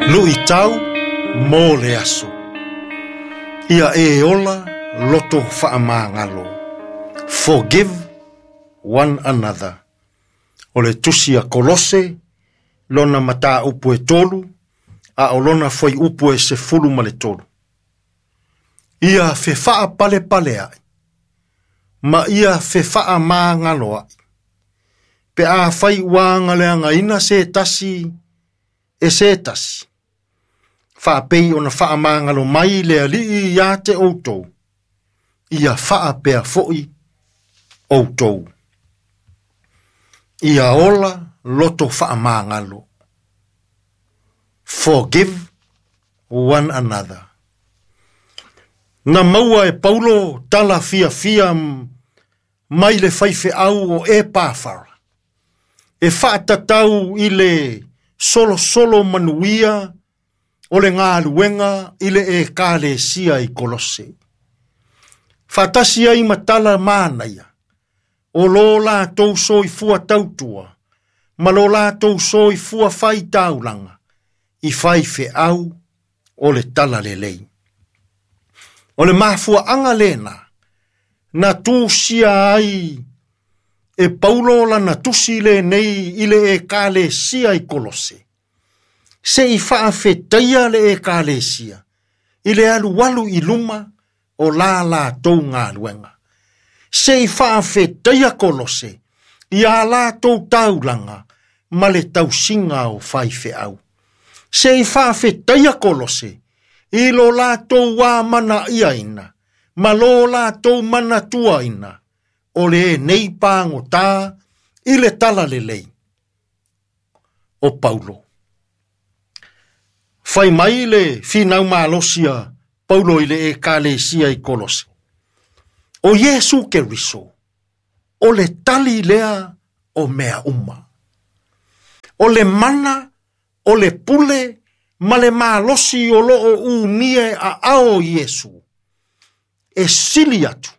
Luitau mo le aso. Ia e ola loto faamagalo. Forgive one another. O le tusi a Kolose, lona mataupu e 3, a o lona fuaiupu e 13. Ia fefaapalepai ma ia fefaamagaloai. Pe afai ua agaleagaina se tasi e se tasi. Faapei ona faamagalo mai le Alii ia te outou. Ia faapea foi outou. Ia ola loto faamagalo. Forgive one another. Na maua e Paulo tala fiafia mai le faifeau o Epafara. E faatatau i le solosolo manuia o le galuega i le ekalesia i Kolose. Faatasi ai ma tala manaia, o lo latou soifua tautua, ma lo latou soifua faitaulaga, i faifeau o le tala lelei. O le mafuaaga lena, na tusia ai e Paulo lana tusi lenei i le ekalesia i Kolose. Se i faafetaia le ekalesia, i le alualu i luma o la latou galuega. Se i faafetaia Kolose, i a latou taulaga ma le tausiga o faifeau. Se i faafetaia Kolose, i lo latou amanaiaina, ma lo latou manatuaina, o le nei pagotā i le tala lelei o Paulo. Fai mai le finau malosi a Paulo i le ekalesia i Kolose. O Iesu Keriso, o le tali lea o mea uma. O le mana, o le pule, ma le malosi o loo umia e aao Iesu. E sili atu,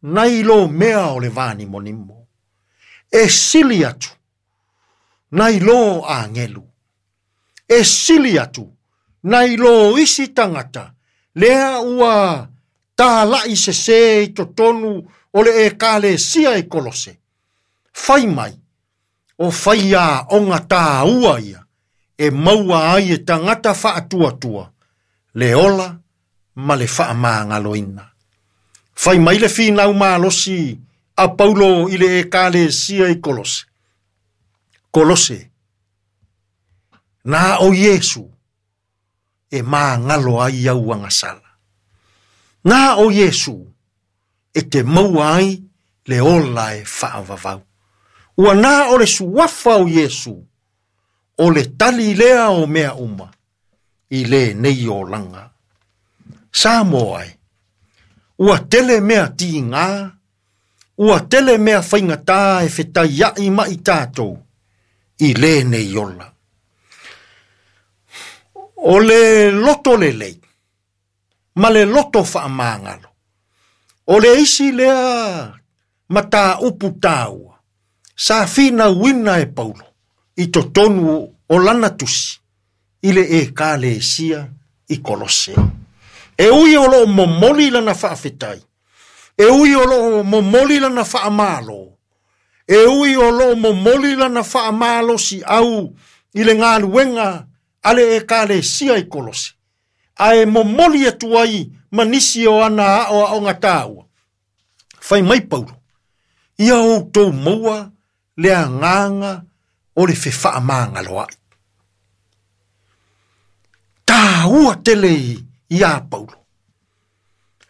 nai lo mea o le vanimonimo. E sili atu, nai lo angelu. E sili atu, nai lo isi tangata, lea ua talai sese i totonu o le ekalesia i Kolose. Fai mai, o whaia onga tāua ia, e maua ai e tangata faatuatua, le ola ma le faamagaloina. Fai mai le finau malosi a Paulo i le ekalesia i Kolose. Kolose, na o Iesu e māngalo ai au agasala. Na o Iesu e te maua ai le ola e faavavau. Ua na o le suafa o Iesu, o le tali lea o mea uma, i le nei olaga. Samoa e, ua tele mea tigā, ua tele mea faigata e fetaiai mai tatou, i le nei ola. O le loto lelei, ma le loto faamagalo. O le isi lea mataupu taua, sa finauina e Paulo, i totonu o lana tusi, i le ekalesia i Kolose. E ui o loo momoli lana faafetai, e ui o loo momoli lana faamalo, e ui o loo momoli lana faamalosi au i le galuega a le ekalesia i Kolose. Ae momoli atu ai ma nisi o ana aoaoga taua. Fai mai Paulo, ia outou maua le agaga o le fefaamagaloai. Taua tele ia Paulo,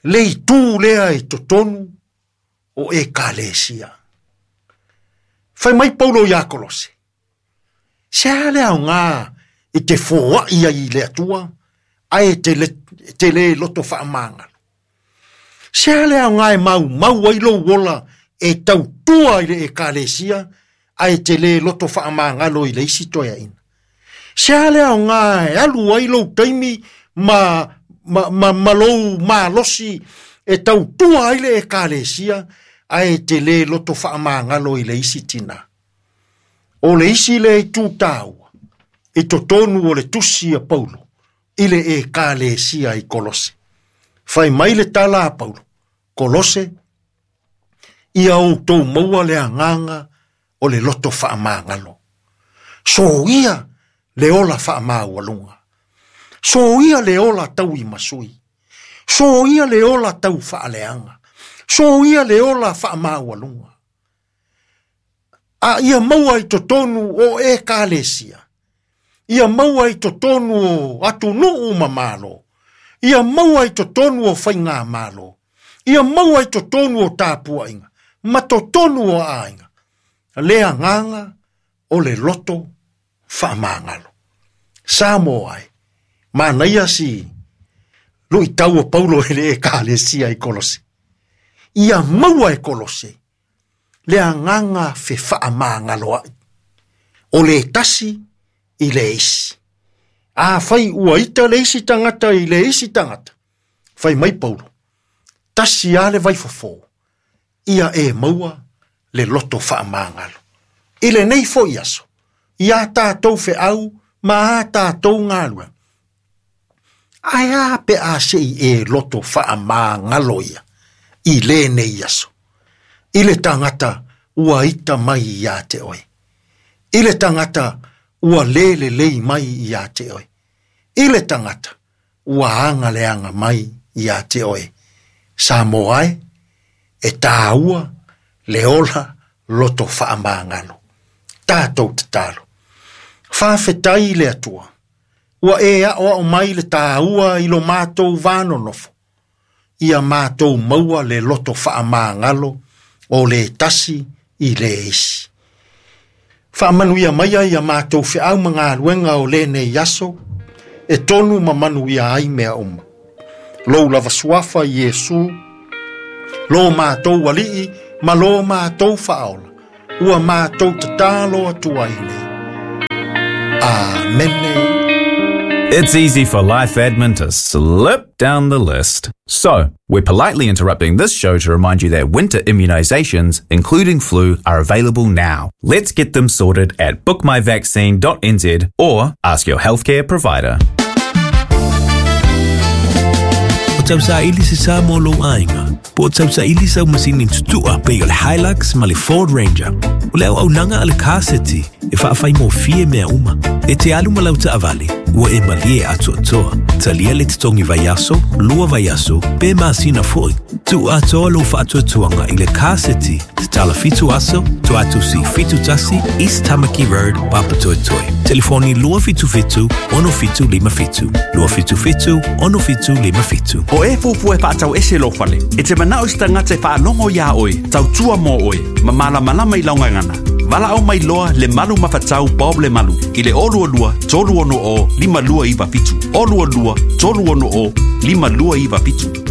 le itu lea i totonu o ekalesia. Fai mai Paulo ia Kolose, se a le aoga i te foai ai i le Atua, ae te le loto faamagalo. Se a le aoga e maumau ai lou ola e tautua i le ekalesia, ae te le loto faamagalo i le isi toeaina. Se a le aoga e alu ai lou taimi ma lou malosi e tautua ai le ekalesia, ae te le loto faamagalo i le isi tina. O le isi le itu taua, I totonu o le tusi a Paulo i le ekalesia i Kolose. Fai mai le tala a Paulo, Kolose, ia outou maua le agaga o le loto faamagalo. Soia le ola faamaualuga. Soia le ola tauimasui. Soia le ola taufaaleaga. Soia le ola faamaualuga. A ia maua i totonu o ekalesia. Ia maua i totonu o atunuu ma malo. Ia maua i totonu o faigamalo. Ia maua i totonu o tapuaiga. Ma totonu o aiga. Le agaga o le loto faamagalo. Samoa ai. Manaia si luitau o Paulo i le ekalesia i Kolose. Ia maua e Kolose le agaga fefaamagalo ai. O le tasi i le isi. A fai ua ita le isi tagata i le isi tagata. Fai mai Paulo, tasi a le vaifofo, ia e maua le loto faamagalo. I lenei foi aso, ia tātou feau ma a tātou galuega. Ae a pe a sei e loto faamagalo ia i lenei aso. I le tagata ua ita mai ia te oe. I le tagata ua le lelei mai ia te oe. I le tagata ua aga leaga mai ia te oe. Samoa e, e tāua le ola loto faamagalo. Tātou tatalo. Faafetai le Atua. Ua e aoao mai le tāua i lo mātou vanonofo. Ia mātou maua le loto faamagalo o le tasi i le isi. Faamanuia mai ia mātou feau ma galuega o lenei aso, e tonu ma manuia ai mea uma. Lou lava suafa Iesu, lo mātou alii ma lo mātou faaola, ua mātou tatalo atu ai nei. Amene. It's easy for life admin to slip down the list. So, we're politely interrupting this show to remind you that winter immunizations, including flu, are available now. Let's get them sorted at bookmyvaccine.nz or ask your healthcare provider. O tausaili se sa mo lou aiga, po o tausaili sau masini tutua pei o le Hilux ma le Ford Ranger. O le auaunaga a le Car City e faafaigofie mea uma. E te alu ma lau taavale, ua e malie atoatoa. Talia le totogi vaiaso, 2 vaiaso, pe masina foi. Tuu atoa lou faatuatuaga i le Car City, tatala 7 aso, Tuatusi 71, East Tamaki Road, Papatoetoe. Telefoni 277 6757. 277 6757. O e fuafua e faatau ese lou fale, e te manao i se tagata e faalogo iā oe, tautua mo oe, ma malamalama i lau gagana. Valaau mai loa le malu mafatau Bob le Malu i le 022 360 5297. 022 360 5297.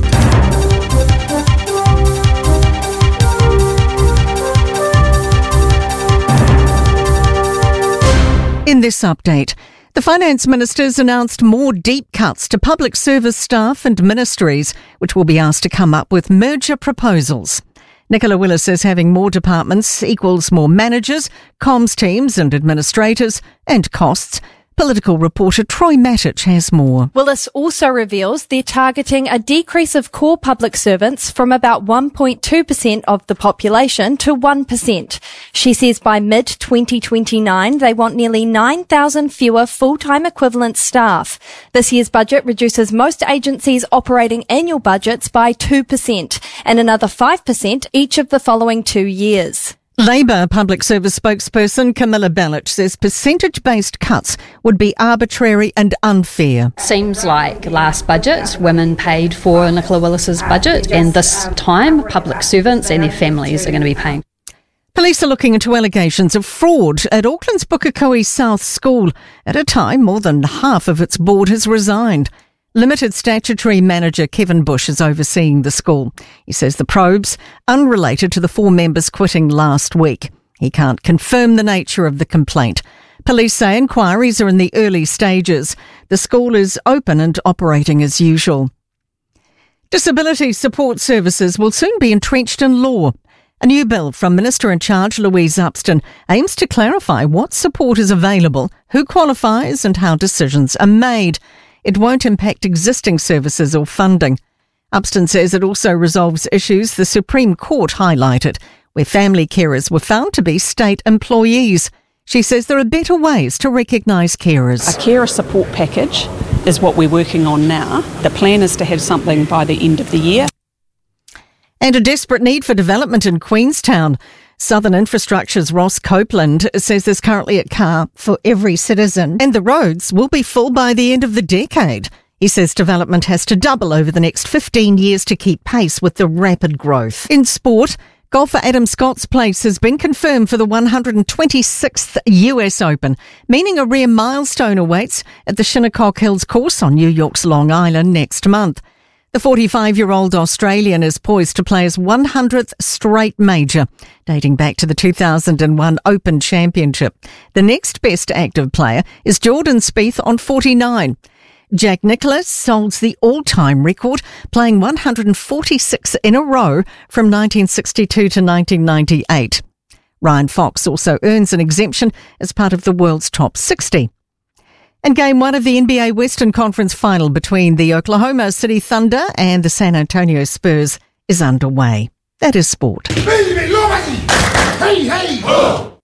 In this update, the finance ministers announced more deep cuts to public service staff and ministries, which will be asked to come up with merger proposals. Nicola Willis says having more departments equals more managers, comms teams and administrators, and costs. Political reporter Troy Matich has more. Willis also reveals they're targeting a decrease of core public servants from about 1.2% of the population to 1%. She says by mid-2029, they want nearly 9,000 fewer full-time equivalent staff. This year's budget reduces most agencies' operating annual budgets by 2% and another 5% each of the following 2 years. Labour public service spokesperson Camilla Belich says percentage-based cuts would be arbitrary and unfair. Seems like last budget, women paid for Nicola Willis's budget, and this time public servants and their families are going to be paying. Police are looking into allegations of fraud at Auckland's Pukekohe South School at a time more than half of its board has resigned. Limited statutory manager Kevin Bush is overseeing the school. He says the probe's unrelated to the 4 members quitting last week. He can't confirm the nature of the complaint. Police say inquiries are in the early stages. The school is open and operating as usual. Disability support services will soon be entrenched in law. A new bill from Minister in Charge Louise Upston aims to clarify what support is available, who qualifies, and how decisions are made. It won't impact existing services or funding. Upston says it also resolves issues the Supreme Court highlighted, where family carers were found to be state employees. She says there are better ways to recognise carers. A carer support package is what we're working on now. The plan is to have something by the end of the year. And a desperate need for development in Queenstown. Southern Infrastructure's Ross Copeland says there's currently a car for every citizen and the roads will be full by the end of the decade. He says development has to double over the next 15 years to keep pace with the rapid growth. In sport, golfer Adam Scott's place has been confirmed for the 126th US Open, meaning a rare milestone awaits at the Shinnecock Hills course on New York's Long Island next month. The 45-year-old Australian is poised to play his 100th straight major, dating back to the 2001 Open Championship. The next best active player is Jordan Spieth on 49. Jack Nicklaus holds the all-time record, playing 146 in a row from 1962 to 1998. Ryan Fox also earns an exemption as part of the world's top 60. And game one of the NBA Western Conference final between the Oklahoma City Thunder and the San Antonio Spurs is underway. That is sport. Hey, hey!